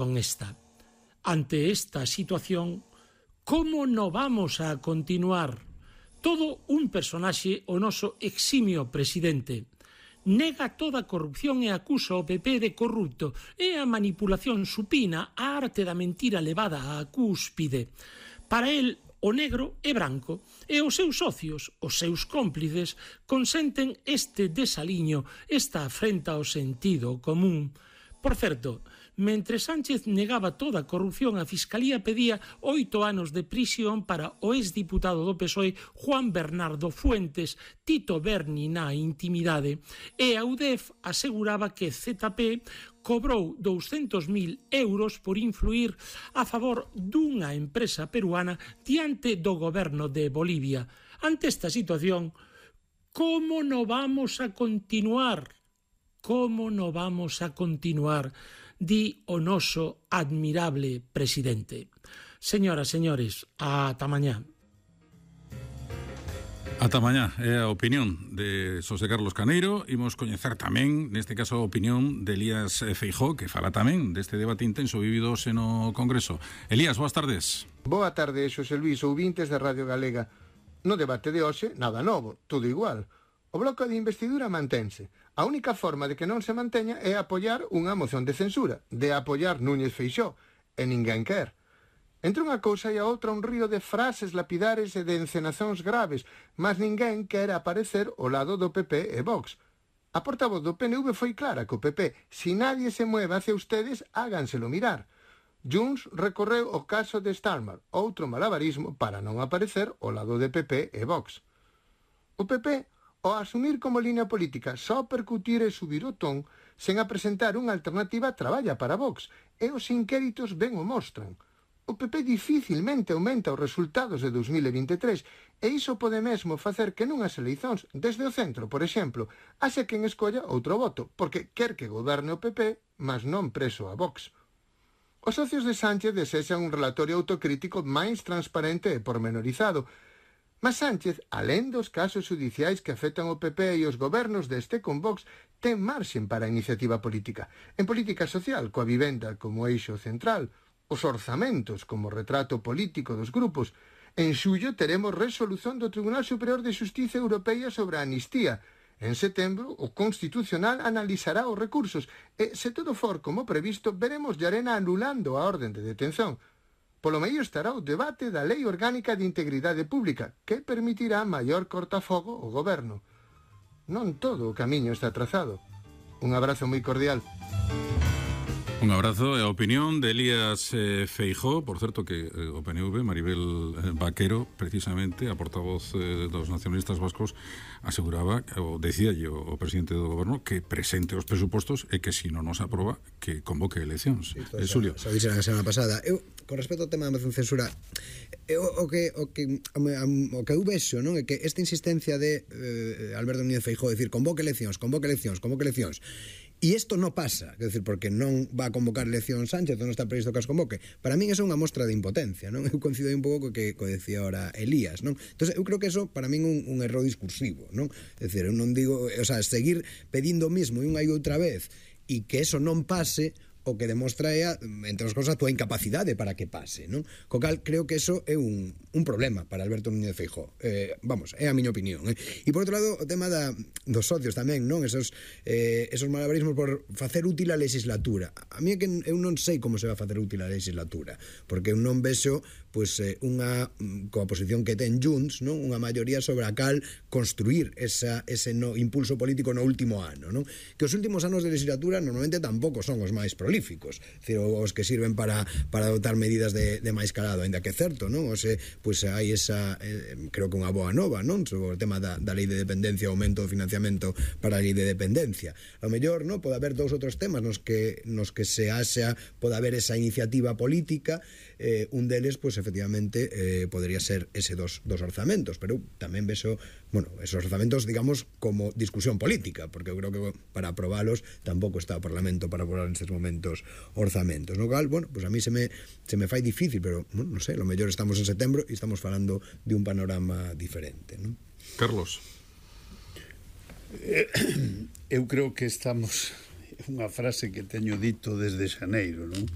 con esta. Ante esta situación, como non vamos a continuar? Todo un personaxe o noso eximio presidente. Nega toda a corrupción e acusa o PP de corrupto e a manipulación supina a arte da mentira levada á cúspide. Para el, o negro é branco e os seus socios, os seus cómplices, consenten este desaliño, esta afrenta ao sentido común. Por certo, mentre Sánchez negaba toda a corrupción, a Fiscalía pedía 8 anos de prisión para o exdiputado do PSOE Juan Bernardo Fuentes, Tito Berni na intimidade, e a UDEF aseguraba que ZP cobrou 200.000 euros por influir a favor dunha empresa peruana diante do goberno de Bolivia. Ante esta situación, como non vamos a continuar? Como non vamos a continuar? Di o noso admirable presidente. Señoras, señores, ata mañá. Ata mañá é a opinión de Xosé Carlos Caneiro. Imos coñecer tamén, neste caso, a opinión de Elías Feijóo, que fala tamén deste debate intenso vivido hoxe no Congreso. Elías, boas tardes. Boa tarde, Xosé Luís, ouvintes da Radio Galega. No debate de hoxe, nada novo, todo igual. O bloque de investidura mantense. A única forma de que non se manteña é apoiar unha moción de censura, de apoiar Núñez Feixóo, e ninguén quer. Entre unha cousa e a outra un río de frases lapidares e de encenacións graves, mas ninguén quer aparecer ao lado do PP e Vox. A portavoz do PNV foi clara co PP: si nadie se mueve hacia ustedes, háganselo mirar. Junts recorreu o caso de Starmer, outro malabarismo para non aparecer ao lado de PP e Vox. O PP, ao asumir como línea política só percutir e subir o ton, sen a presentar unha alternativa, traballa para Vox, e os inquéritos ben o mostran. O PP dificilmente aumenta os resultados de 2023, e iso pode mesmo facer que nunhas eleicións desde o centro, por exemplo, haxe quen escolla outro voto, porque quer que goberne o PP, mas non preso a Vox. Os socios de Sánchez desexan un relatorio autocrítico máis transparente e pormenorizado, mas Sánchez, alén dos casos judiciais que afectan o PP e os gobernos deste con Vox, ten marxen para a iniciativa política. En política social, coa vivenda como eixo central, os orzamentos como retrato político dos grupos. En xullo teremos resolución do Tribunal Superior de Xustiza Europea sobre a amnistía. En setembro, o Constitucional analizará os recursos e, se todo for como previsto, veremos Llarena anulando a orden de detención. Polo medio estará o debate da Lei Orgánica de Integridade Pública, que permitirá maior cortafogo ao goberno. Non todo o camiño está trazado. Un abrazo moi cordial. Un abrazo e a opinión de Elías Feijóo, por certo que o PNV, Maribel Vaquero, precisamente, a portavoz dos nacionalistas vascos, aseguraba, ou decíalle o presidente do goberno, que presente os presupostos e que se non nos aproba, que convoque eleccións. Xulio. Xa dixeran a semana pasada. Eu, con respecto ao tema da moción censura, o que eu vexo, non, é que esta insistencia de Alberto Núñez Feijóo decir convoque eleccións, e isto non pasa, quer decir, porque non va a convocar elección Sánchez, non está previsto que as convoque. Para min é unha mostra de impotencia, non? Eu coincido un pouco co que decía ahora Elías, non? Entón, eu creo que eso para min é un erro discursivo, non? É dicir, eu non digo, o sea, seguir pedindo o mismo unha e outra vez e que eso non pase, o que demostra é, entre as cousas, a túa incapacidade para que pase, non? Co cal, creo que eso é un problema para Alberto Núñez Feijóo. Vamos, é a miña opinión. E, por outro lado, o tema dos socios tamén, non? Esos malabarismos por facer útil a legislatura. A mí é que eu non sei como se va a facer útil a legislatura, porque eu non vexo, pois, coa posición que ten Junts, non? Unha maioría sobre a cal construir ese impulso político no último ano, non? Que os últimos anos de legislatura normalmente tampouco son os máis prolíficos, decir, os que sirven para adoptar medidas de máis calado, ainda que é certo, non? Pois hai esa, creo que unha boa nova, non? Sobre o tema da lei de dependencia, o aumento do financiamento para a lei de dependencia. A mellor, non? Pode haber dous outros temas nos que se haxa, pode haber esa iniciativa política, un deles, pois, efectivamente, podría ser ese dos orzamentos, pero tamén vexo, bueno, esos orzamentos, digamos, como discusión política, porque eu creo que para aprobalos tampouco está o Parlamento para aprobar nestes momentos orzamentos, no cal, bueno, pues a mí se me fai difícil, pero, bueno, non sei, lo mellor estamos en setembro e estamos falando de un panorama diferente, non? Carlos. Eu creo que estamos, unha frase que teño dito desde xaneiro, non?